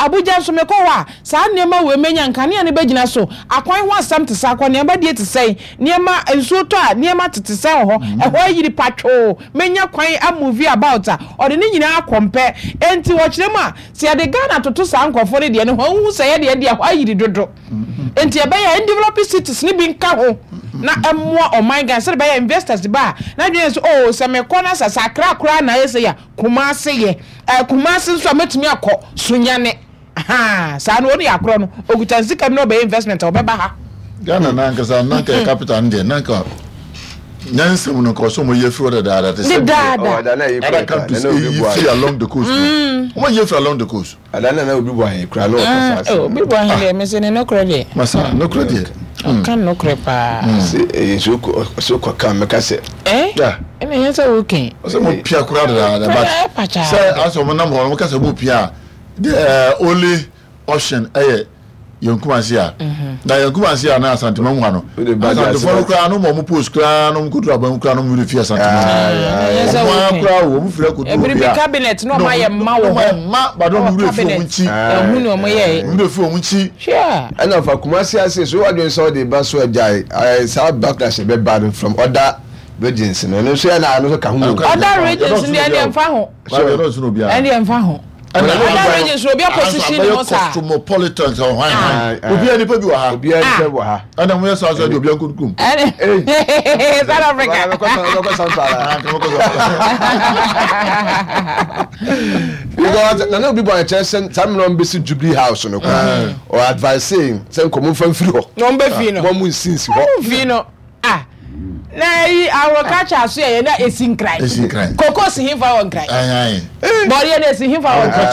Abuja nso mekɔ hɔ a, saa nneɛma wei mɛnya, nkanea no bɛgyina so, akwan ho asɛm te sɛ, akɔneaba die te sɛn, nneɛma, nsuo tɔ a, nneɛma tete sɛn wɔ hɔ, ɛhɔ ayiri patwoo, mɛnya kwan a move about a, ɔde ne nyinaa akɔmpɛ. Enti wɔkyerɛ mu a, sɛ yɛde Ghana toto saa nkurɔfoɔ no deɛ no ho a, wohu sɛ yɛdeɛ deɛ ɛhɔ ayiri dodo. Enti ɛbɛyɛ a ɛndevelop cities no bi nka ho na ɛmmoa ɔman Ghana sɛdeɛ ɛbɛyɛ a investors ba a, n'adwene yɛ sɛ oh sɛ mekɔ na sɛ sɛ Accra koraa na ayɛ sei a, Kumasi yɛ. Ɛɛ Kumasi nso a mɛtumi akɔ Sunyani. Ahaa saa no ɔne akorɔ no ɔkuta ne sika bi na ɔbɛyɛ investment a ɔbɛba ha. Ghana no ankasa na anka yɛ capital no deɛ na anka nyansa mu no nka ɔsɛ wɔn yi afiri hɔ dadaada te sɛ deɛ other countries eyi firi along the coast no wɔn ayi afiri along the coast. Ada na na obi bɔ ahe kura na ɔkasa ase. Obi bɔ ahe deɛ mese ne nokorɛ deɛ. Masa nokorɛ deɛ. Ɔka nokorɛ paa. Se ɛyɛ nsuo kɔ ɔsɛ kɔ kan mɛka sɛ. Eh? Yeah. Ɛna ɛyɛ sɛ woke. Ɔsɛ mo pia koraa dadaada but sɛ asɛ ɔmo nam hɔ ɔmo ka sɛ mo pia a the only option ɛyɛ yɛn Kumasi a na yɛn Kumasi a na Asantema mu ha no Asantefoɔ no koraa no ma ɔmo post koraa no ɔmo koduru aban mu koraa no ɔmo werɛ fi Asantema ɔmo ara koraa o ɔmo firi akɔduru obi a cabinet na ɔmo ayɛ mma wɔ hɔ mma but ɔmo werɛ fi ɔmo nkyi ɛhu na ɔmo yɛ ɔmo werɛ fi ɔmo nkyi ɛna fa Kumasi ase so wadwene sɛ ɔde ba so agyae saa backlash ɛbɛba no from other regions no ɛno nso yɛ na ɛno nso ka ho other regions no deɛ ɛnfa ho ɛndeɛ ɛnfa ho. Other regions obi aposition ne ho saa. Cosmopolitan sɛ ɔhwan hwan. Obiara nipa bi wɔ ha. Obiara nipa bi wɔ ha. Ɛna mo yɛ saa sɛ de obiara nkɔ kurom. South Africa. Bɛkɔ Sampala. Because na na obi bɔ ɛkyɛ sɛ saa mmerɛ wɔn bɛsi Jubilee House no koraa. Ɔ advice sɛ nkɔmɔ nfa mfiri hɔ. Na wɔn bɛ fi no. Wɔn mu nsi nsi hɔ. Wɔn fi no. Ah na eyi agriculture so yɛ na esi nkran. Esi nkran. Koko si hinfa wɔ nkran. Ayi. Bɔdeɛ na esi hinfa wɔ nkran.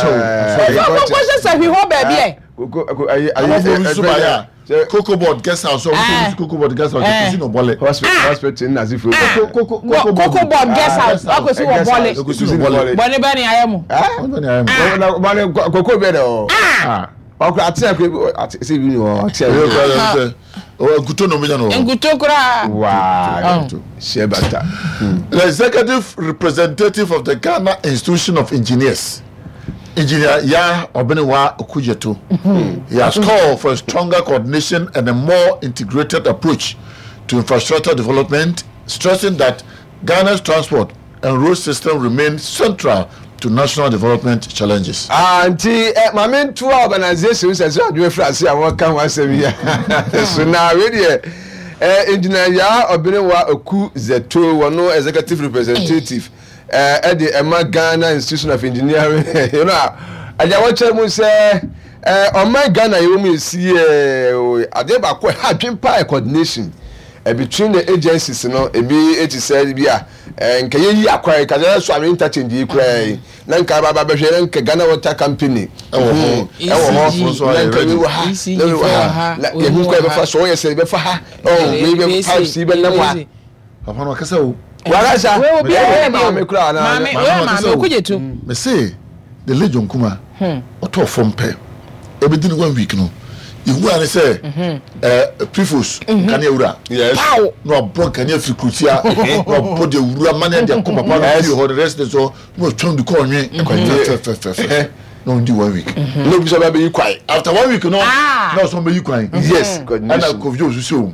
Efa koko hyɛ sɛ hwi hɔ baabi ɛ. Koko ayi ayi. Amafo bi so ba ya. Cocoa board guest house ɔmo so cocoa board guest house ekosi no bɔlɛ. Hospital nna ase fo. Cocoa cocoa board guest house wakosi wɔ bɔlɛ. Ekosi no bɔlɛ. Bɔne bɛ ni ayɛ mu. Bɔne bɛ ni ayɛ mu. Bɔne koko bɛ dɛ o. Ɔkura ate akura ate sɛ ebi ni hɔ ate akura. Nkuto na ɔmo no. Nkuto koraa. Waa hyɛ bata. The executive representative of the Ghana Institution of Engineers, Engineer Yaa Obenewa Okudzeto, he has called for a stronger coordination and a more integrated approach to infrastructure development, stressing that Ghana's transport and road system remain central to national development challenges. Ah, nti eh, maame ntoa organisation sɛ sɛ adwuma firi ase a wɔka ho asɛm yi so na wei deɛ eh, Engineer Yaa Ɔbenewa Oku Zeto wɔno executive representative eh, ɛde ɛma Ghana Institution of Engineering you know a agya wɔkyerɛ mu sɛ eh, ɔman Ghana yɛwɔ mu yɛsi eh, adeɛ baako ɛha adwen paa coordination eh, between the agencies no ebi ti sɛ bi a eh, nka yɛyi akwan ka sɛ so ame interchange yi koraa yi na nka aba aba bɛhwɛ na nka Ghana Water Company ɛwɔ hɔ ɛwɔ hɔ na nka wei wɔ ha na wei wɔ ha na yɛhu kwan yɛbɛfa so ɔyɛ sɛ yɛbɛfa ha ɔn wei bɛ pipes yi bɛnam ha. Papa no ɔkasa o. Wakasa. Wei obi a yɛ maame koraa na maame wei yɛ maame okugye to. Mese the late John Kuma ɔtɔɔ fam pɛ ebedi ne one week no ihu ara ne sɛ ɛɛ prefos nkanea wura Pow! na wabɔ nkanea firi kurutia na wabɔ de wura mane de akɔ papa no fie hɔ ne residence hɔ na watwam de kɔ ɔnwe fɛfɛfɛfɛ na ɔndi one week. Na obi sɛ ɔbɛ abɛyi kwan. After one week no Ah! na ɔsɛ ɔbɛyi kwan. Yes. Ɛna Kofi Jones nso o.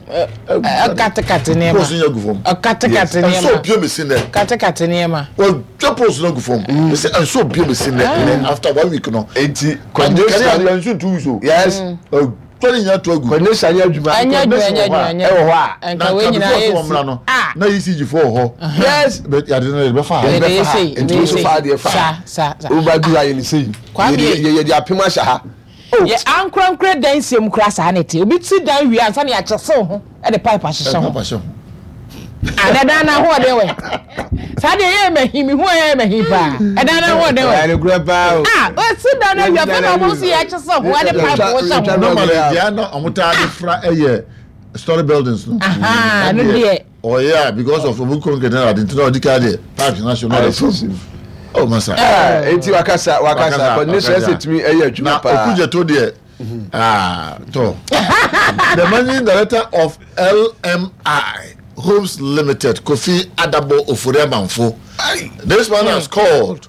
Ɔkatekate nneɛma. Post no agu fam. Ɔkatekate nneɛma. Ɛnso obie mi si nɛ. Katekate nneɛma. Wɔdwa post no agu fam. Ɛsɛ ɛnso obie mi si nɛ nɛ after one week no. Eti coordination yɛ nso two weeks o. Yes. Ɔtwa ne nyinaa to agu. Coordination yɛ adwuma. Ɛnyɛ adwuma ɛnyɛ adwuma ɛnyɛ. Ɛwɔ hɔ a. Nka wei nyinaa yɛ si. Ah. Na ECG fo wɔ hɔ. Yes. But yade no yɛde bɛfa ha. Yɛde bɛfa ha. Nti wo nso fa adeɛ fa ha. Sa sa. Wo ba du ha yɛ ne sei. Kwame. Yɛde yɛde apem ahyɛ ha. Oh. Yɛ ankorankora dan sie mu koraa saa na ɛte. Obi si dan wie ansa na yɛakyɛsew ho de pipe ahyehyɛ ho. Pipe ahyɛ ho. Ah, na ɛdan no ahoɔden wɛ. Saa deɛ ɛyɛ mahi, mehu a ɛyɛ mahi paa. Ɛdan no ahoɔden wɛ. Ɛyɛ nokorɛ paa o. Ah, osi dan no awie afei na wɔn si yɛakyɛsew ho de pipe hyɛ ho. Normally deɛ na wɔn taa de fra ɛyɛ story buildings no. Aha, ɛno deɛ. Ɔyɛ a because of omu concrete na ade nti na ɔdi ka deɛ pipe na so na ɔde fam. Oh masa. Eti wakasa wakasa coordination ɛsɛ tumi ɛyɛ adwuma paa. Na okugye deɛ ah tɔ. The managing director of LMI Homes Limited Kofi Adabo Ofori Amanfo. This man has called.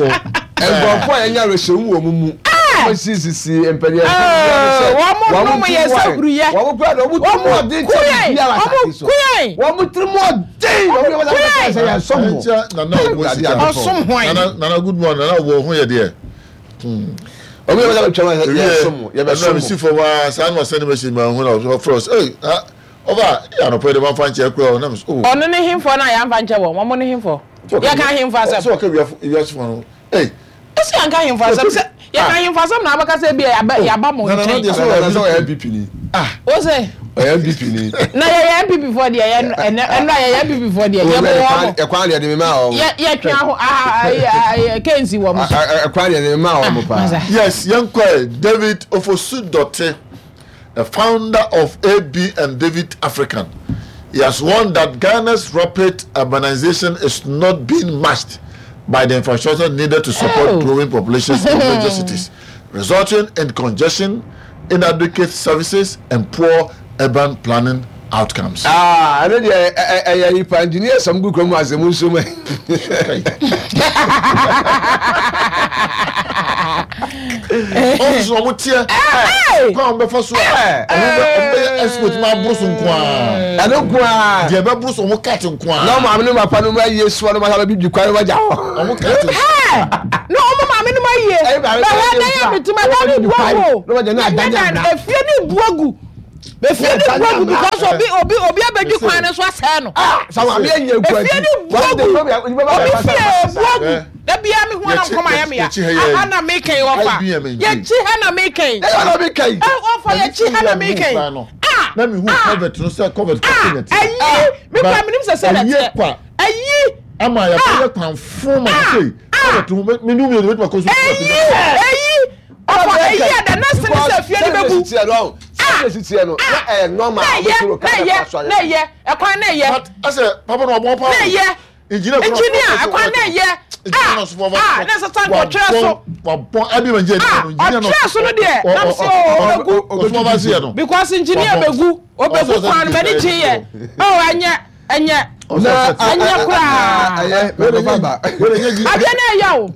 kɔ. Nkurɔfoɔ a yɛnya awerɛhyɛmu wɔ wɔn mu. Wɔn sisisi mpanyinfoɔ Wɔn nom yɛ sɛ huruyɛ. Wɔn kura de wɔn tiri mu ɔden kyɛ biribiara asase so. Wɔn tiri mu ɔden. Wɔn yɛ wɔn asase sɛ yɛn som mo. Nana ɔwɔ sika. Ɔsom hwan. Nana nana good morning nana ɔwɔ ho yɛ deɛ. Wɔn yɛ wɔn asase twɛn yɛn som mo. Yɛ bɛ som mo. Ɛnna mi si fam aa saa na ɔsɛn ne message ma ho na ɔfrɛ ɔsɛ ɛy ah ɔba yɛ anɔpɛ de ma nfa nkyɛn kura ɔnam so. Ɔno ne hemfoɔ no a yɛamfa nkyɛ wɔn wɔn ne hemfoɔ. Yɛka ahemfo asɛm. Sɛ ɔka wiase fo no. Ei. Esi anka ahemfo asɛm sɛ yɛka ahemfo asɛm na abɛka sɛ ebia yɛaba yɛaba mo nkyɛn. Nana nana sɛ ɔyɛ NPP ni. Ah. O se. Ɔyɛ NPP ni. Na yɛyɛ NPP foɔ deɛ yɛ ɛnɛ ɛnura yɛyɛ NPP foɔ deɛ yɛ bɔ wɔn mo. Ɛkwan deɛ de mi maa wɔn. Yɛ yɛtwe aho aha ayi kensi wɔn so. Ɛkwan deɛ de mi maa wɔn paa. Yes, yɛn kɔ ɛ David Ofosu Dɔte. The founder of AB and David African. He has warned that Ghana's rapid urbanization is not being matched by the infrastructure needed to support oh. growing populations in major cities, resulting in congestion, inadequate services, and poor urban planning outcomes. Ah, ɛno deɛ ɛyɛ nipa engineer sɔm gu kurom asɛm nso mu. Ɔmo ɔmo teɛ kwan a ɔmo bɛfa so a ɔmo bɛ ɔmo bɛyɛ expert ma aboro so nko ara. Ɛno nko ara. Deɛ ɛbɛboro so ɔmo cut nko ara. Na ɔmo maame no papa no mu ayie soɔ no ma sábɛ bibi kwan no ma gya hɔ. Ɔmo cut. Na ɔmo maame no ma yie. Bɛhwɛ dan a mete mu ɛdan no bu agu o. Ɛnyɛ dan no efie no bu agu. Efie no bu agu because obi obi obi abɛdi kwan no so asɛe no. Efie no bu agu. Obi fie bu agu. Da biara me hu ana nkɔm ayɛ me ya. Aha na meka yi ɔfa. Yɛkyi ha na meka yi. Ɔfa yɛkyi ha na meka yi. Ah! Na mehu covert no sɛ covert kɔsi na ti. Ayi! Me kura menim sɛ sɛ na teɛ. Ayi! Ama yɛbɛyɛ kwan fon ma sɛ covert ho me nu mmienu bɛtuma kɔ so. Ayi! Ayi! Ɔfa ayi a the next thing sɛ fie no bɛbu. Ah! Na ɛyɛ na ɛyɛ ɛkwan na ɛyɛ. But ɛsɛ papa na ɔbɔ paa. Na ɛyɛ. Engineer ɛkwan na ɛyɛ a a na ɛsɛ sɛ nka ɔtwerɛ so a ɔtwerɛ so no deɛ nam sɛ ɔbɛgu because engineer bɛgu ɔbɛgu kwan no m'ani gye yɛ oh ɛnyɛ ɛnyɛ ɛnyɛ koraa adeɛ no ɛyɛ o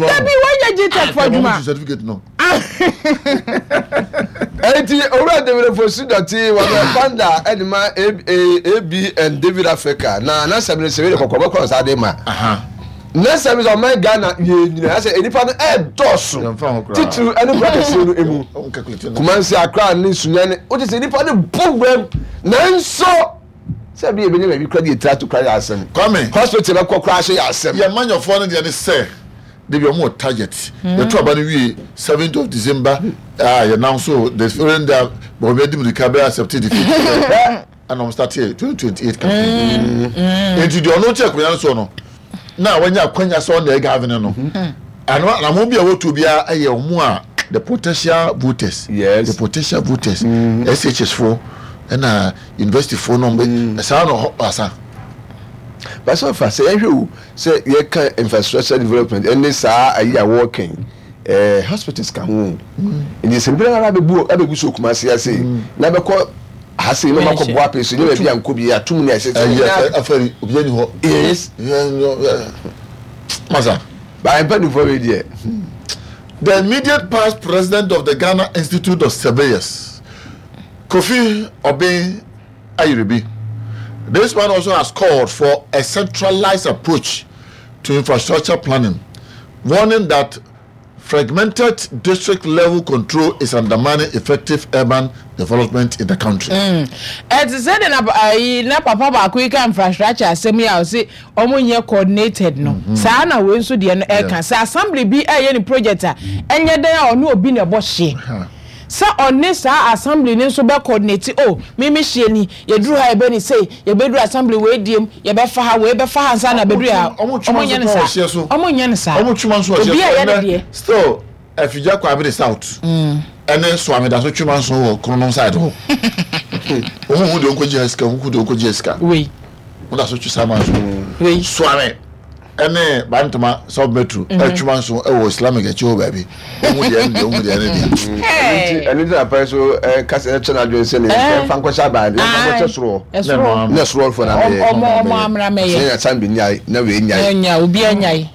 dabi wɔnyɛ gtech fo adwuma. Enti Owura David Fosu Dɔte wɔbɛ founder ɛde ma ABN David Africa na n'asɛm no sɛ wei de kɔkɔɔ bɛkɔ nsa de ma n'asɛm sɛ ɔman Ghana yɛ nyina sɛ nnipa no ɛdɔɔso titiriw ɛne kura kɛseɛ no emu Kumasi Accra ne Sunyani wote sɛ nnipa no bɔ wuram nanso sɛ bi ebɛnya baabi kura de yɛ tiri ato kura yɛ asɛm Kwame hospital bɛkɔ kura ahyɛ yɛ asɛm yɛ manyɔfoɔ no deɛ ne sɛ Dabi ɔmo wɔ target. Yɛto aba no wie seventh of December a yɛnam so the following day a Bawumia di mirika bɛ accept defeat ɛna ɔmo start yɛ 2028 campaign. Nti deɛ ɔno te akonnwa no soɔ no na wanya akwanya sɛ ɔna ɛgavene no ano anamɔ bi a wɔtuo biara ɛyɛ ɔmo a the potential voters yes. the potential voters mm. SHS foɔ ɛna university foɔ no ɔmo bɛ saa na ɔhɔ asa. Basɛ ɔfa sɛ yɛhwɛ o Sɛ yɛka infrastructure development ɛne saa ayi a wɔɔka yi, ɛɛ hospitals ka ho o. Nti sɛ obi ara abɛbu abɛgu so Kumasi ase yi, na bɛkɔ ha sei na ɔmakɔ Boape so, nyɛ baabi a nkɔ bi atum ne ɛsɛ sɛ nyinaa. Afɛri obi ani hɔ. Yes. Masa. Baa mpanimfoɔ wei deɛ. The immediate past president of the Ghana Institute of Surveyors, Kofi Obeng Ayiribi. This man also has called for a centralized approach to infrastructure planning, warning that fragmented district level control is undermining effective urban development in the country. Mm. Ɛte sɛ de na ayi na papa baako yi ka infrastructure asɛm yi a ɔse ɔmo nyɛ coordinated no. Mm-hmm. Saa na wei nso deɛ no ɛka sɛ assembly bi ɛyɛ ne project a ɛnyɛ dɛn a ɔne obi na ɛbɔ hyeɛ. Sɛ ɔne saa assembly no nso bɛ coordinate oh me me hyeɛ ni, yɛduru ha yɛbɛ ne sei, yɛbɛduru assembly wei deɛ mu, yɛbɛfa ha, wei bɛfa ha ansa na abɛduru ha. Ɔmo Ɔmo nyɛ no saa. Ɔmo nyɛ no saa. Ɔmo twema nso wɔ Obi hyeɛ a so ɛyɛ ne ɛnɛ deɛ. still Afigya Kwabere South ɛne Soame da so twema nso wɔ Kronom side hɔ. Ɔmo hu deɛ ɔnkɔgye ha sika, ɔmo hu deɛ ɔnkɔgye ha sika. Wei. Ɔmo da so twe saa manso. Wei. Soame. Ɛne Bantama sub metro atwuma nso wɔ Islamic akyi hɔ baabi. Wohu deɛ ɛne deɛ, wohu deɛ ɛne deɛ. Ɛno nti, ɛno nti na pɛn so kasa ɛkyɛ n'adwene sɛ ne yɛn fa nkɔhyɛ aban, yɛn fa nkɔhyɛ soro hɔ. Ɛsoro. Na soro hɔ fo na mɛyɛ. Ɔmo ɔmo amena mɛyɛ. Sɛ yɛn asan bi nyae na wei nyae. Nya obi anyae.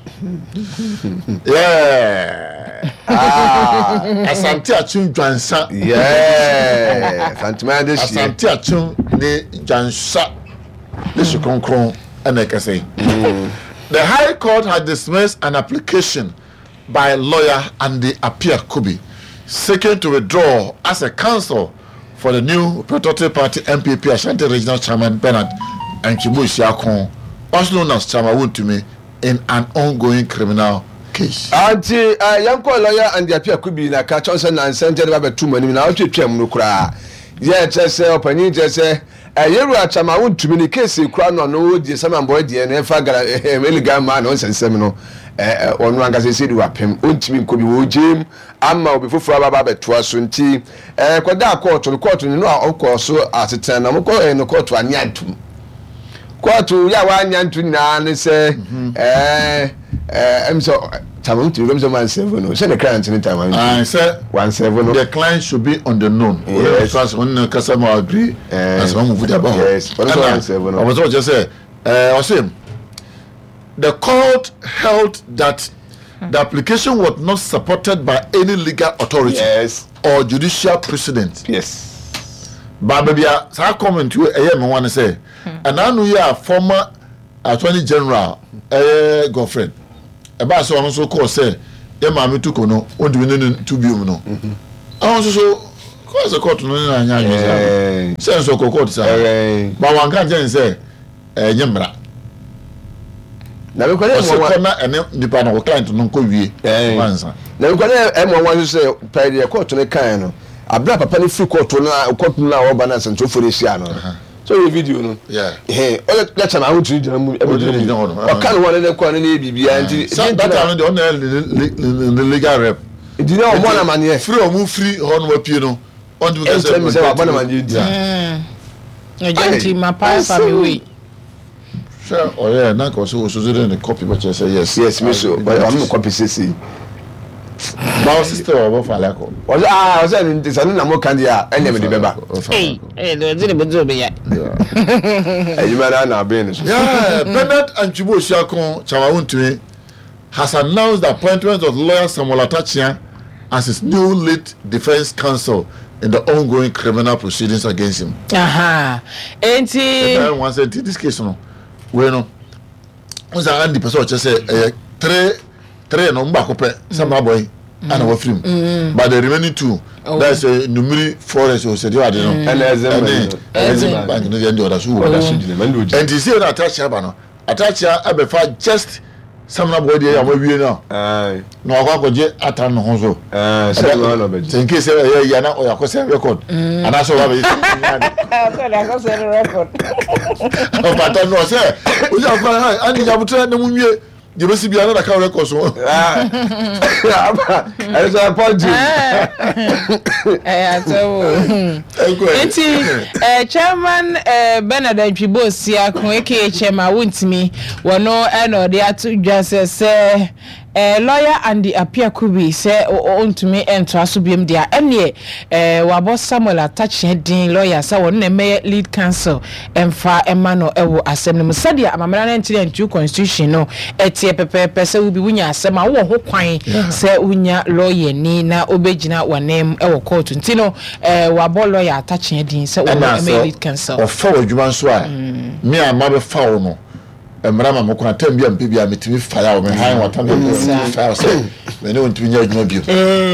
Yeah. Ah. Asante Akyem Dwansa. Yeah. Fantuma de hyɛ. Asante Akyem ne Dwansa ne so kronkron. ɛna ɛkasa yi. The High Court has dismissed an application by lawyer Andy Appiah Kubi seeking to withdraw as a counsel for the new Patriotic Party NPP Ashanti Regional Chairman Bernard Antwi Boasiako, also known as Chairman Wontumi, in an ongoing criminal case. Ante eh, yɛnkɔ lawyer Andy Appiah Kubi na ka kyɛw sɛ nansa nti ɛde ba bɛto mu anim na ɔtwetwam no koraa yɛ kyerɛ sɛ ɔpanyin kyerɛ sɛ Yɛwura Kyama wo ntumi ne case kura no ano wo die sama mbɔɛ deɛ no ɛfa gara ɛne gan maa no nsɛnsɛm no ɔno ankasa ɛsɛ di wapem ɔntumi nkɔ bi wɔ gyem ama obi foforɔ aba aba abɛtoa so nti kɔdaa kɔɔto no kɔɔto no no a ɔkɔɔ so asetena na ɔmokɔ no kɔɔto ane antum Kóòtù yɛ a w'anya nto nyinaa ne sɛ ɛɛ ɛm sɛ tama ntumi ɛm sɛ ɔmo ansɛvo no sɛ ne client ne tama ntumi. Ayi sɛ wansɛvo no. The client should be on the known. Yes. Ɔno ɔno ne kasa ma agree. Ɛɛ Na sɛ ɔmo move de aba hɔ. Yes. Ɔno sɛ wansɛvo no. Ɔmo sɛ ɔkyerɛ sɛ ɛɛ ɔsɛ the court held that the application was not supported by any legal authority. Yes. Or judicial precedent. Yes. Ba baabi a saa comment wei ɛyɛ me nwa ne sɛ, ɛna ano yi a former attorney general ɛyɛ Godfred. ɛbaa sɛ ɔno nso kɔɔ sɛ yɛ maame Tuko no ɔntumi ne no ntu biom no, ɛhɔ nso so kɔɔ sɛ kɔɔto no ne no anyɛ adwene saa no, sɛ nso ɔkɔɔ kɔɔto saa, ba wanka nkyɛn ne sɛ ɛnyɛ mmara. Ɔsɛ kɔ na ɛne nipa no, client no nkɔ wie ansa. Na mekɔ na ɛmmoa wɔn nso sɛ pɛɛ deɛ kɔɔto no kaeɛ no, abere a papa no firi kɔɔto no a kɔɔto no a ɔreba no asɛntwerɛfoɔ no hyia no no, sɛ ɔyɛ video no, ɔyɛ kyɛ na ahotiri gyina mu ɛbɛgyina mu, ɔka ne ho ne ne kɔ ne ne yɛ biribiara nti. Sɛ that time no deɛ ɔno yɛ ne legal rep. Nti na ɔmmɔ no amaneɛ. Firi ɔmo firi hɔ no apue no, ɔntumi ka sɛ. Ɛnkyerɛ mi sɛ wabɔ no amaneɛ nti. Ɛgya nti ma paa fa mi wei. Sɛ ɔyɛ na nka ɔsɛ ɔsɛ de ne copy bɛkyerɛ sɛ yes. Yes mi so ɔyɛ ɔmo copy sese. Ba ɔsɛ still ɔbɔ fa alakɔ. Ɔsɛ aa ɔsɛ ne nti sɛ ne na mo ka deɛ a ɛnna mi de bɛba. Ee ɛyɛ de ɔdze ne bɛ dze obi ya. Adwuma na na abɛn ne so. Yeah, Bernard Antwibu Osiako Chawawontumi has announced the appointment of lawyer Samuel Atta Akyea as his new lead defence counsel in the ongoing criminal proceedings against him. Aha. Enti. Ɛna ɛwɔ sɛ nti this case no wei no n sɛ Andy pɛ sɛ ɔkyɛ sɛ ɛyɛ three three no baako pɛ sɛ maa bɔ yi ɛna wafiri mu but the remaining two oh. that is uh, Numiri forest o sɛ deɛ ade no ɛne ɛne bank no deɛ ɛde ɔda so wɔ ɛnti sɛ ɛna atakyɛ aba no Atakyea abɛfa just samina bɔ deɛ yɛ awie no na wakɔ akɔgye ata no ho so sɛ nke sɛ ɛyɛ yia na ɔyɛ akɔsɛ record mm. anaasɛ ɔba bɛyɛ ɔbata no ɔsɛ ɔyɛ akɔ ane nyabotrɛ na mu nwie deɛ bɛsi biara na ka record so. Ɛsɛ sɛ pɔnkye. Ɛyɛ asɛm o. Nti eh, Chairman eh, Bernard Antwibo Siako aka Chairman Wontumi wɔno ɛna ɔde ato dwa sɛ sɛ eh, lawyer Andy Appiah Kubi sɛ ɔntumi ntoa so biom deɛ a ɛneɛ eh, wabɔ Samuel Atakyea din lawyer sɛ wɔno na ɛmɛyɛ lead counsel mfa mma no wɔ asɛm no mu. Sɛdeɛ amammerɛ 1992 Constitution no teɛ pɛpɛɛpɛ, sɛ wobi wonya asɛm a, wowɔ ho kwan sɛ wonya lɔyani na ɔbɛgyina w'ananmu wɔ kɔɔto. Nti no, wɔabɔ lɔya Atakyea din sɛ ɔno Ɛna mmɛyɛ sɛ lead counsel. wɔfa wo adwuma nso a, me a mabɛfa wo no, mmara ma me kwan, term bi a mepɛ biara metumi fire wo, me hire wo atam bi a mepɛ biara metumi fire wo sɛ me ne wo ntumi nyɛ adwuma bio.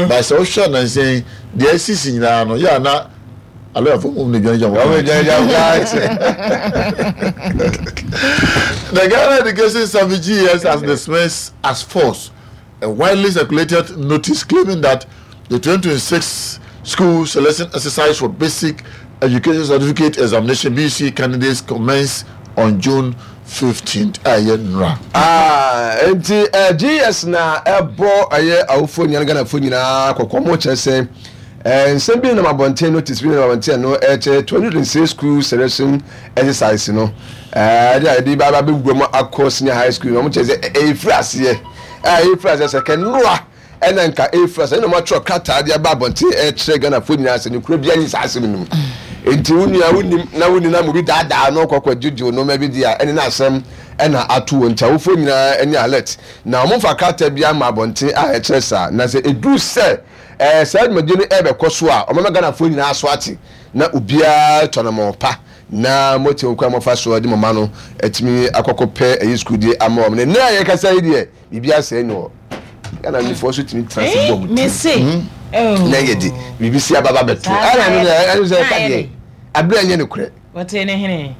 But sɛ wohwɛ nnansa yi, deɛ asisi nyinaa no, yɛ a na Alɔyafo mmom na dwane gya wɔn kwan. The Ghana Education Service GES has dismissed as false a widely circulated notice claiming that the 2026 school selection exercise for basic education certificate examination BC candidates commence on June 15th. Ɛyɛ nnora. Ah, nti eh, GES na ɛbɔ ɛyɛ awofoɔ nyinaa Ghanafoɔ nyinaa kɔkɔ mo kyerɛ sɛ Nsɛm bi nenam abɔnten, notice bi nenam abɔnten a ɛno ɛkyerɛ 206 school selection exercise no ɛde a yɛde ba abɛwura mu akɔ senior high school no wɔn kyerɛ sɛ ɛfiri aseɛ a ɛfiri aseɛ sɛ kɛnnoa ɛna nka ɛfiri aseɛ ɛna wɔn atwerɛ krataa de aba abɔnten ɛkyerɛ Ghanafoɔ nyinaa sɛ nokura biara nni saa asɛm no mu nti wo nua wonim na wonni na obi daadaa no kɔkɔ gyegye nneɛma bi di a ɛne n'asɛm ɛna ato wɔn nti awofoɔ nyinaa ɛne alert na wɔn mfa krataa bi ama abɔnten a ɛkyerɛ saa na sɛ ɛduru sɛ Ɛɛ saa dwumadie no ɛrebɛkɔ so a ɔmama Ghanafoɔ nyinaa aso ate na obiara atu anamɔn pa na moate wɔn kwan a moafa so de mo mma no atumi akɔkɔ pɛ ɛyi sukuu die ama wɔn. Na nnɛ a yɛrekasa yi deɛ biribi asɛe nni hɔ. Ghana nifoɔ nso tumi tena ase bɔ wɔn tirim na yɛ de biribi si aba ba bɛto. Ɛna ɛno deɛ ɛno sɛ ɛka deɛ abere ɛnyɛ nokorɛ. Wɔtee ne hene.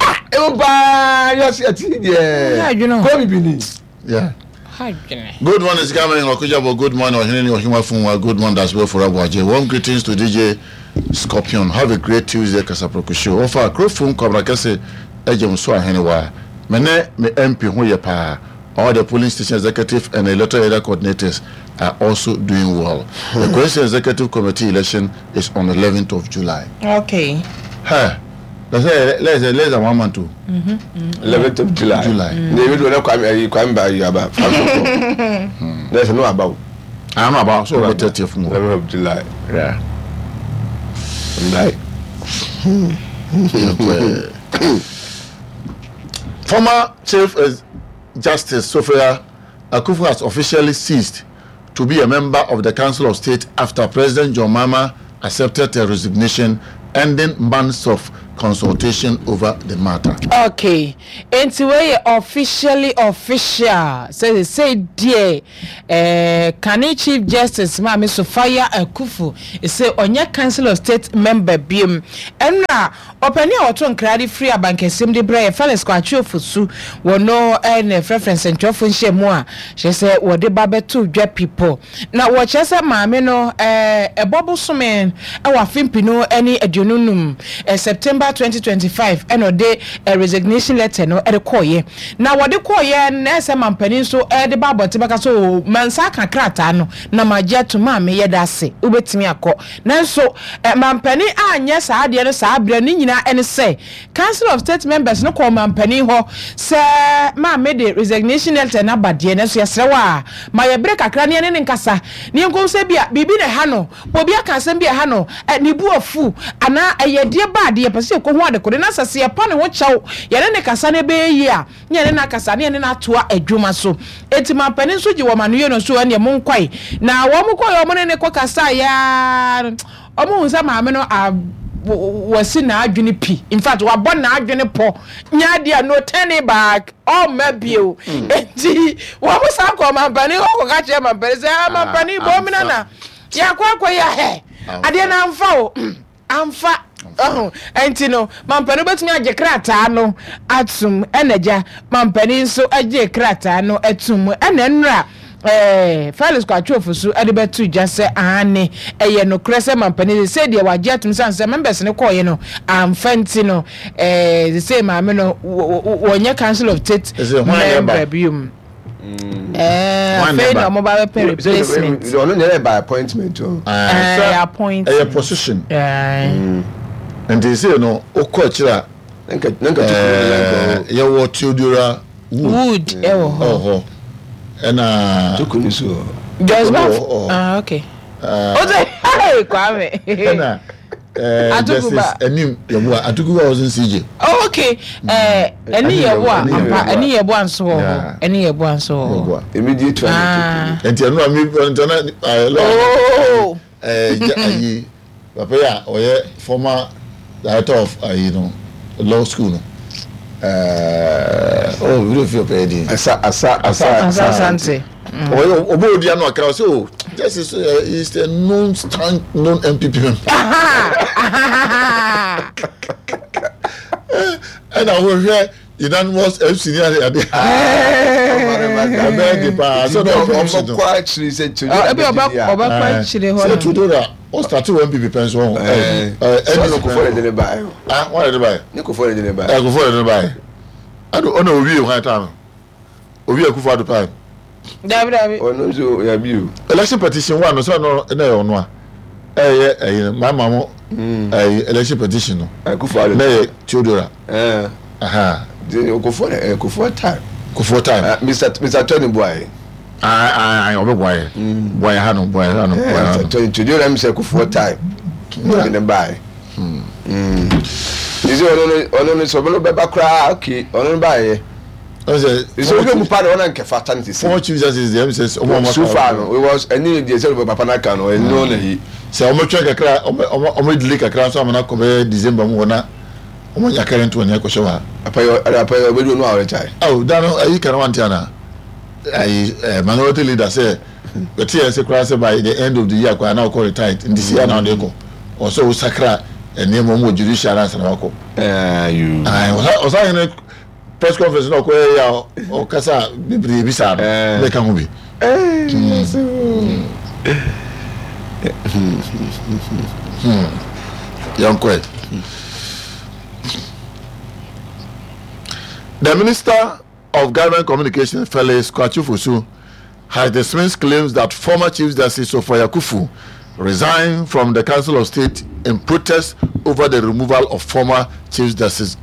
Ah, ɛwɔ paa wiase ɛte deɛ kɔ bibini. Yeah. Good morning, Sikame Okujabo. Good morning, Ohinini Ohimafunwa. Good morning, Daswe Furabuaje. Warm greetings to DJ Scorpion. Have a great Tuesday, Kasaproko Show. Ofa, Krofum Kwabra Kese, Ejem So Ahenewa. Mene, me MP ho ye pa. All the polling station executive and electoral area coordinators are also doing well. The Coalition Executive Committee election is on 11th of July. Okay. Hey. Let's say let's say less than one month o. 11th of July. July. Na ebi do na kwame ayi kwame ba ayi aba fa so kɔ. Na sɛ no aba o. Ah no aba so ɔbɛ 30th mu. 11th of July. Yeah. Ndai. Former Chief Justice Sophia Akuffo has officially ceased to be a member of the Council of State after President John Mahama accepted her resignation, ending months of consultation over the matter. Okay, enti wei yɛ officially official sɛ sesei deɛ eh, kane Chief Justice Maame Sophia Akuffo se ɔnyɛ Council of State member biom. Ɛnora ɔpanin a ɔto nkra de firi abankɛseɛm de brɛ yɛ Felix Kwakye Ofosu wɔ no na ɛfrɛfrɛ nsɛntwerɛfoɔ nhyiamu a kyerɛ sɛ wɔde ba bɛto dwa pipɔ. Na wɔkyerɛ sɛ maame no ɛbɔ bosome wɔ afe mpenu ne 25, September 2025 ɛna ɔde resignation letter no de kɔeɛ. Na wɔde kɔeɛ no na ɛsɛ mampanin nso de ba abɔnten bɛka sɛ oo mansa aka krataa no na magye atum maame yɛda ase wobɛtumi akɔ. Nanso mampanin anyɛ saa adeɛ no saa berɛ no ne nyinaa ɛne sɛ Council of State members no kɔɔ mampanin hɔ sɛ maame de resignation letter no aba deɛ, nanso yɛsrɛ wo a, ma yɛ bere kakra na yɛne no nkasa na yɛnkɔhu sɛ ebia biribi na ɛha no, obi aka asɛm bi a ɛha no, ne bo afu, anaa ɛyɛ deɛ ba adeɛ, yɛpɛ sɛ yɛkɔhu adekode na sɛ sɛ yɛpa ne ho kyɛw, yɛne no kasa na ɛbɛyɛ yie a, na yɛne no akasa na yɛne no atoa adwuma so. Enti mampanin nso gye wɔn anoyie no so, ɛnneɛ monkɔe. Na wɔn kɔeɛ, wɔn ne no kɔkasaeɛ ara no, Ɔmo hu sɛ maame no a wasi n'adwene pi, in fact wabɔ n'adwene pɔ, nyɛ adeɛ a no turning back, ɔmma bio. Enti wɔn san kɔɔ mampanin hɔ kɔka kyerɛɛ mampanin sɛ, ah mampanin bɔ omina na yɛakɔ akɔyɛ hɛ, adeɛ no amfa o, amfa. Ɔho, enti no mampanin bɛtumi agye krataa no atom, ɛna agya mampanin nso gyee krataa no atom, ɛna nnora Ɛɛ, Felix Kwakye Ofosu de bɛto dwa sɛ aane, ɛyɛ nokorɛ sɛ mampanin sesei deɛ wagye atom sane sɛ members no kɔɔeɛ no amfa nti no, ɛɛ, sesei maame no wɔnyɛ Council of State member biom. Ɛɛ, afei na wɔn ba bɛpɛ replacement. Ɔno nyɛ dɛ by appointment o. Ɛɛ, appointment. Ɛyɛ position. Nti sesei no wokɔ akyire a, yɛwɔ Theodora Wood wɔ hɔ. Wɔ hɔ. Ɛna. Toko ni so wɔ hɔ. Joyce Baf. Ah okay. O sɛ hey Kwame. Ɛna ɛɛ Justice Anim Yeboah Atukuba wasn't CJ. Oh okay. Ɛɛ Ani Yeboah ampa Ani Yeboah nso wɔ hɔ. Ani Yeboah nso wɔ hɔ. Immediate one. Nti ɛnu a mi ntɛnɛ ɛɛ lɔɔ. Oh. Ɛɛ ayi. Papa yi a ɔyɛ former director of ayi no law school no ɛɛ oh wúlò fi ɔpɛ yɛ din. Asa asa asa asa asante. Ɔyɛ ɔbɔ odi ano akra ɔsɛ o justice uh, is a known stand known NPP member. Ɛna wɔhwɛ unanimous FC ni ade ade. Ɛbɛyɛ de paa sɛ ɔbɛ ɔbɛkɔ akyiri sɛ Tudora bɛ di a. Ɔbɛkɔ akyiri hɔ no. Sɛ Tudora ɔstarte wɔ NPP pɛn so ɔho. Sɛ ɔno Kufuor na de ne baeɛ. Ah wɔn na de baeɛ. Ne Kufuor na de ne baeɛ. Ɛɛ Kufuor na de ne baeɛ. Ɛna ɔna owie hwan time no. Owie Akufo Addo time. Dabi dabi. Ɔno nso yabi o. Election petition wa no sɛ ɔno na ɛyɛ ɔno a ɛyɛ ɛyi no maa maa mo ɛyi election petition no. Akufo Addo. Na ɛyɛ Theodora. Ɛɛ. Kufuor ɛɛ Kufuor time. Kufuor time. Mr Mr Tony Buaye. Ayi ayi ɔbɛ Buaye. Buaye ha no Buaye ha no Buaye ha no. Mr Tony Theodora mi sɛ Kufuor time. Ɔde ne baayɛ. Sisi ɔno no ɔno no sɛ ɔno bɛba koraa okay ɔno no baayɛ. Sɛ wohwɛ mu pa de ɔna nkɛ fata no sisi. Former chief justice deɛ ɛmi sɛ ɔmo ɔmo. So far no it was ɛni deɛ sɛ papa n'aka no ɛno na yi. Sɛ ɔmo twɛn kakra ɔmo ɔmo ɔmo delay kakra nso ama n'akɔ bɛyɛ December mu hɔ na ɔmo nya current one yɛ kɔhyɛ hɔ a. Apayɔ ɛna apayɔ ɔbɛdu ɔno a ɔretire. Awo da no ayi kana wante ana ayi ɛɛ minority leader sɛ bɛte yɛn se koraa sɛ by the end of the year koraa na ɔkɔ retired nti si ana ɔde kɔ ɔsɛ ɔsakra nneɛma ɔmo wɔ judicial ansa na wakɔ. Ɛɛ ɔsan yɛn press conference na ɔkɔyɛ yɛ a ɔkasa bebree bi saa no na ɛka ho bi. Yɛnkɔɛ. The Minister of Government Communication, Felix Kwakye Fosu, has dismissed claims that former Chief Justice Sophia Kufu resigned from the Council of State in protest over the removal of former Chief Justice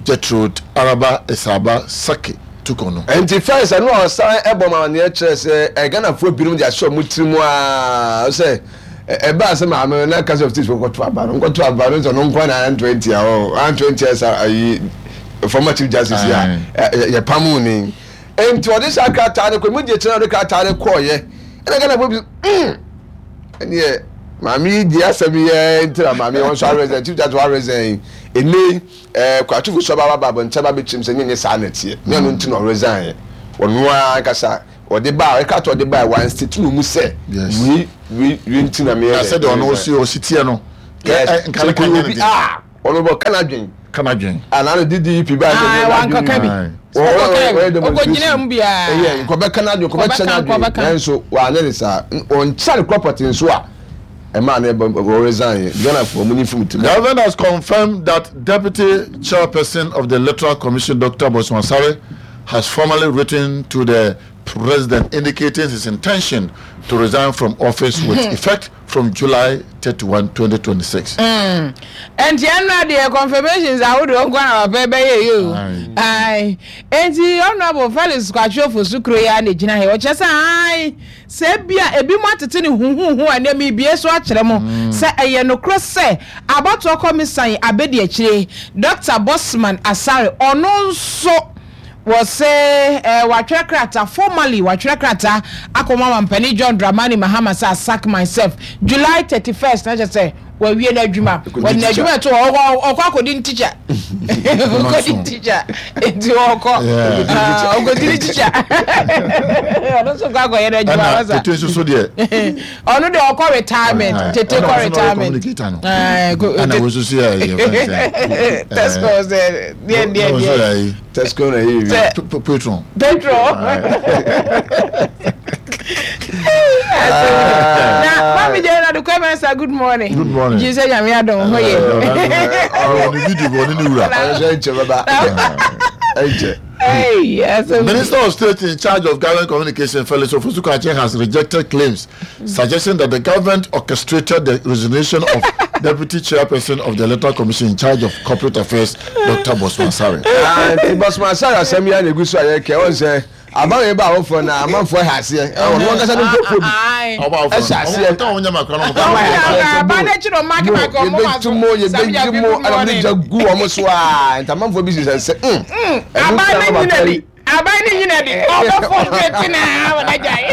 Gertrude Araba Esaaba Saki Tukonu. Nti first ɛno a ɔsan ɛbɔ ma amanneɛ kyerɛ sɛ ɛ Ghanafoɔ binom de ahyɛ wɔn tiri mu aa sɛ ɛbaa sɛ maame no na Council of State foɔ kɔto aba no nkɔto aba no sɛ ɔno nko na anto antia hɔ anto antia sa ayi former Chief Justice yi a yɛpamoo ne Enti ɔde saa krataa no kɔe. Mogye kyerɛ na ɔde krataa no kɔeɛ. Ɛna Ghanafoɔ bi mm ɛneɛ Maame yi di asɛm yi ɛ nti na maame yi wɔn nso aresign, Chief Justice aresign yi. Ɛnɛ yi ɛɛ Kwatufo so aba aba abɔnten aba abɛkyerɛ mu sɛ nyɛ nyɛ saa na ɛteɛ. Nyɛ ɔno nti na ɔresign yɛ. Ɔno ara ankasa ɔde ba a ɛka to ɔde ba a wɔn state no mu sɛ wei wei wei nti na meyɛ dɛ. Na sɛdeɛ ɔno ɔsi ɔsi teɛ no. Yes, nka ne ka nyɛ ne den. Ɔno bɔ ka n'adwen. Ka n'adwen. Ah, na no DDP ba sɛ ah, wankɔka bi. Ɔkɔka bi. Ɔkɔgyina mu biara. Ɛyɛ nkɔbɛka n'adwen, nkɔbɛkyɛ n'adwen. Nanso wanyɛ ne saa. Ɔnkyɛ ne korɔpɔte nso a ɛmaa no ɛbɔ ɔresign. Ghanafoɔ mo ni fim ti. The government has confirmed that Deputy Chairperson of the Electoral Commission, Dr. Bosman Sare, has formally written to the President indicating his intention to resign from office with effect from July 31, 2026. Mm. Enti ɛnora deɛ confirmations ahodoɔ nko na papa bɛyɛ yi o. Ayi. Enti Honourable Felix Kwakye Ofosu kuro yi ara na egyina ha. Ɔkyerɛ sɛ ayi sɛ ebi a ebi mo atete ne huhuhu a nneɛma ebie so akyerɛ mo mm. sɛ ɛyɛ nokorɛ sɛ abatoɔ kɔmisan abedi akyire Dr. Bosman Asare ɔno nso Wɔse eh, watwerɛ krataa, formally watwerɛ krataa akɔma Mampanin John Dramani Mahama sɛ I sack myself July 31st, na kyerɛ sɛ wawie n'adwuma. Wɔde n'adwuma ɛto hɔ, ɔkɔ ɔkɔ akɔdi ne tikya. Ɔkɔdi ne tikya, nti ɔkɔ ɔkɔdi ne tikya. Ɔno nso kɔ akɔyɛ n'adwuma. Ɛna tete nso so deɛ. Ɔno deɛ ɔkɔ retirement, tete kɔ retirement. Ɛna wo nso so yɛ yɛ fɛn sɛ. Tesco sɛ deɛ deɛ deɛ. Tesco na yɛ wi. Patron. Patron. Na mami jẹ́ na dukwe mẹ́sà good morning. Good morning. Jí sẹ́ nyàmé adùn hó yẹ. Ọ̀rọ̀ ni fídíò bọ̀ nínú wura. Ọ̀rọ̀ sẹ́ ẹ̀nkyẹ́ bàbá. Ẹ̀nkyẹ́. Minister of State in charge of Government Communication, Felix Ofosu-Kwakye, has rejected claims suggesting that the government orchestrated the resignation of Deputy Chairperson of the Electoral Commission in charge of Corporate Affairs, Dr. Bosman Sare. Ah, nti Bosman Sare asɛm yi a na egu so a yɛkɛ wɔn sɛ aban yɛ ba awofoɔ na amanfoɔ ɛha aseɛ ɔno ankasa ne nkurɔfoɔ bi ɛhyɛ aseɛ yɛbɛtu mo yɛbɛyi mo ɛna mo de gya gu wɔn so a nti amanfoɔ bi sisɛ sɛ mm ɛno nti na papa yi Aban ne nyina di ɔbɛ frustrate na wɔn agya yi.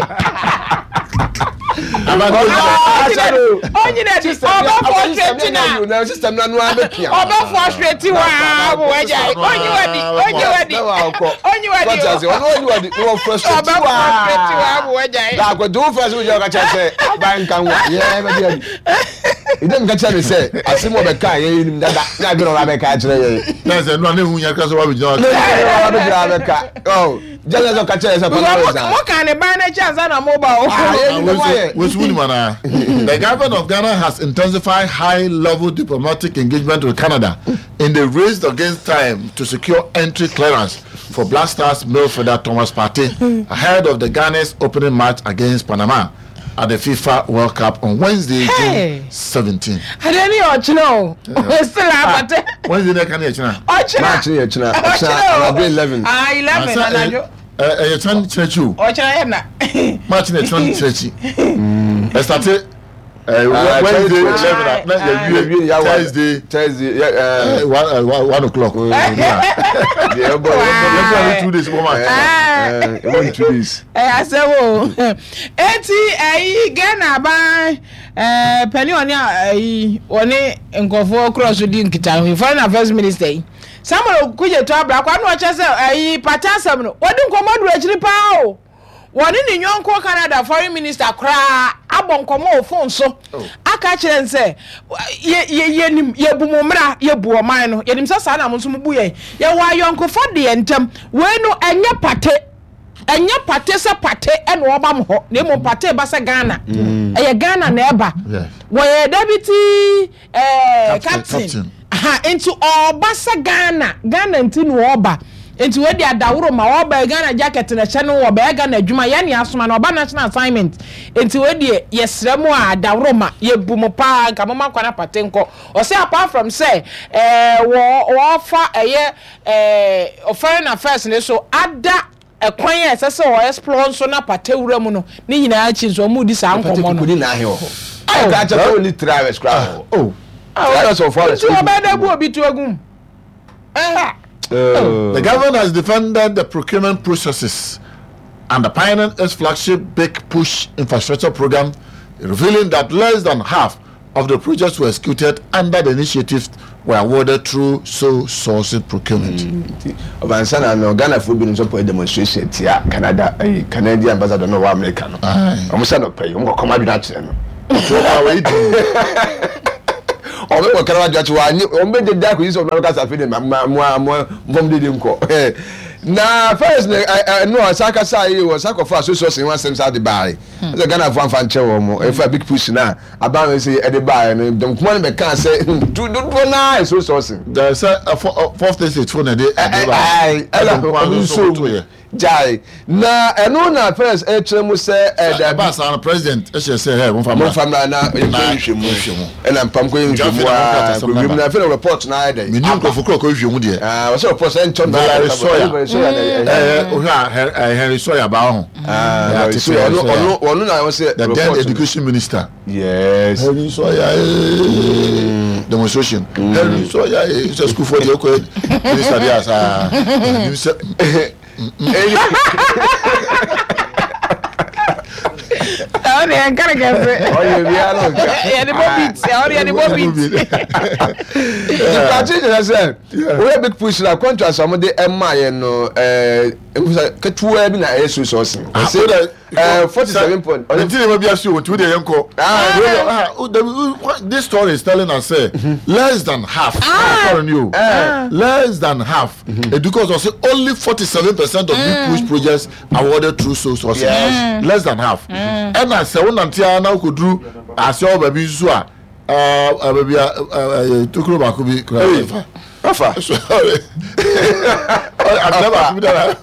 Onyina di ɔbɛ frustrate na system na noa bɛ pia. Ɔbɛ frustrate wa wɔn agya yi. Onyi wa di onyi wa di onyi wa di o. Ɔno onyi wa di na wɔ frustrate wa. Ɔbɛ frustrate wa wɔn agya yi. Daakɔ tí o fɛ so jɛ ɔka kyerɛ sɛ aban nkan wa yɛ bɛ di ɛdi. Ìdí mi ka kyerɛ mi sɛ asɛm wɔ bɛ ka yɛ yɛ nim dada ní adwene ɔba bɛ ka kyerɛ yɛ. Náà sɛ nua ne hu yɛn kasa wa bɛ gyina wa. Ne hu wa bɛ gyina wa bɛ ka ɔ jɛnɛ sɛ ɔka kyerɛ yɛ sɛ kɔnɔ bɛ zan. Mo kan ne ban n'akyi ansa na mo ba o. Ah, yɛ nim wa yɛ. Wesu wunim ana? The government of Ghana has intensified high-level diplomatic engagement with Canada in the race against time to secure entry clearance for Black Stars midfielder Thomas Partey ahead of the Ghana's opening match against Panama. at the FIFA World Cup on Wednesday, hey. June 17. Adeɛ ni ɔkyena o. Still abate. Wednesday na ɛka ne ɛkyena. Ɔkyena. March ne ɛkyena. Ɔkyena anadwo 11. Ah 11 anadwo. Ɛyɛ kyena kyena akyi o. Ɔkyena yɛ na. March ne ɛkyena kyena akyi. Ɛsate. Wednesday 11 na yɛwie Thursday Thursday 1 o'clock. Yeah, boy. Wow. 2 days. 2 days. Ɛyɛ asɛm o. Eti ɛyi Ghana aban ɛɛ panin ɔne ɛyi ɔne nkurɔfoɔ korɔ so di nkitaho foreign affairs minister yi Samuel Okudzeto Ablakwa na ɔkyerɛ sɛ ɛyi pata asɛm no wɔde nkɔmɔ duru akyiri paa o. Wɔne ne yɔnko Canada foreign minister koraa abɔ nkɔmɔ wɔ phone so oh. aka kyerɛ no sɛ yɛ yɛ yɛnim yɛbu mo mmara yɛbu ɔman no yɛnim sɛ saa na mo nso mo bu yɛn yɛwɔ ayɔnkofa deɛ ntam wei no ɛnyɛ pate. Ɛnyɛ pate sɛ pate na ɔba mo hɔ na mmom pate ba sɛ Ghana. Mm. Ɛyɛ Ghana na ɛba. Wɔyɛ deputy eh, captain. Ha, nti ɔba sɛ Ghana. Ghana nti na ɔba. Nti wɔde adaworo ma ɔba Ghana jacket na ɛhyɛ no ɔbɛyɛ Ghana adwuma yɛn ne asoma na ɔba national assignment. Nti wɔde yɛsrɛ mo a adaworo ma yɛbu mo paa nka mo ma kwan apate nkɔ. Ɔsɛ apart from sɛ eh, wɔ wɔfa ɛyɛ eh, foreign affairs ne so ada ɛkwan a ɛsɛ sɛ wɔ explore nso na pata wura mu no ne nyinaa akyi nso wɔn redi saa nkɔmɔ no. Kodi na ahɛ wɔ hɔ. Ayɛ kora kyɛ sɛ wɔn ni three hours kora wɔ hɔ. Oh. Three hours or 4 hours. Nti wɔbɛda bu obi to agum. The government has defended the procurement processes and the pioneering its flagship Big Push infrastructure program. revealing that less than half of the projects were executed under the initiative were awarded through sole sourcing procurement. Nti ɔbansa na no Ghanafoɔ binom nso kɔyɛ demonstration tia Canada ɛyi Canadian ambassador no ɔwɔ America no. Wɔn sɛ nɔpɛ yi wɔn kɔkɔm adwene akyerɛ no. Ɔtɔ ɔbaa wɔ yi di. Wɔn bɛ kɔkɔm adwene akyerɛ wɔn anyi wɔn bɛ deda akɔyi sɛ wɔn bɛ kasa afei de ma ma mo mo nfɔm dede nkɔ. Na first na ɛno ɔsan kasa yi wɔsan kɔfa so sɔsɛ ho asɛm saa de baae. Sɛ Ghanafoɔ anfa nkyɛ wɔn mo ɛfa big push na. Aban wei sɛ ɛde baeɛ no, dɔm kuma no bɛkaa sɛ tu dodoɔ no ara ɛso sɔɔse. Dɛ sɛ fourth estate fo na ɛde ɛde baeɛ. Ɛna ɔno nso mu gyae. Na ɛno na first ɛkyerɛ mu sɛ ɛdabi. Ɛbaa saa no president ɛhyɛ sɛ hɛ momfa mmra. Momfa mmra na yɛnkɔ nhwehwɛ mu. Ɛna mpam kɔ yɛ nhwehwɛ mu aa kɔ wiem na afei na report no ayɛ dɛ. Menim nkurɔfo kora kɔ nhwehwɛ mu deɛ. Wɔsɛ report sɛ ntɔ Valerie Sawyer. Ɛɛ wohwɛ a Henry Sawyer baa ho. Ah, so ɔno ɔno ɔno na ɔsɛ the then education minister. Yes. Henry Sawyer ee demonstration. Henry Sawyer ee sɛ school for deɛ ɔkɔ minister deɛ asa. Nim sɛ. Ɔne yɛn nkari kɛse. Ɔyɛ bia no nka. Yɛde bɔ beat. Ɔne yɛde bɔ beat. Ìpàtí kyerɛ sɛ woyɛ big push na contract a wɔde ɛma yɛn no ɛɛ. Nkusa ketewa bi na ɛyɛ so sɔɔse. Ɔse ɛɛ 47 point. Nti nneɛma bi ase o nti wo deɛ yɛn kɔ. This story is telling us say less than half. Sorry ni o. Less than half. Eduka ɔsɛ only 47% of big push projects awarded through so sourcing. Yes. Less than half. Ɛna sɛ wo nante ara na wokɔduru ase hɔ baabi nso a baabi a tokuro baako bi kura. Afa. Sorry. Abena baako bi dara.